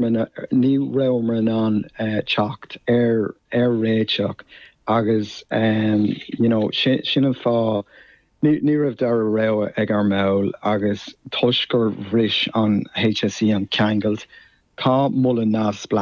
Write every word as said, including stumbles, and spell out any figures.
ní rabhamar in ann uh, teacht ar ar réiteach agus um, you know, sin, sin an fáth ní, ní raibh dara rogha ag ár mbaill agus toisc gur bhris an HSE an ceangal tá moladh neamhspleách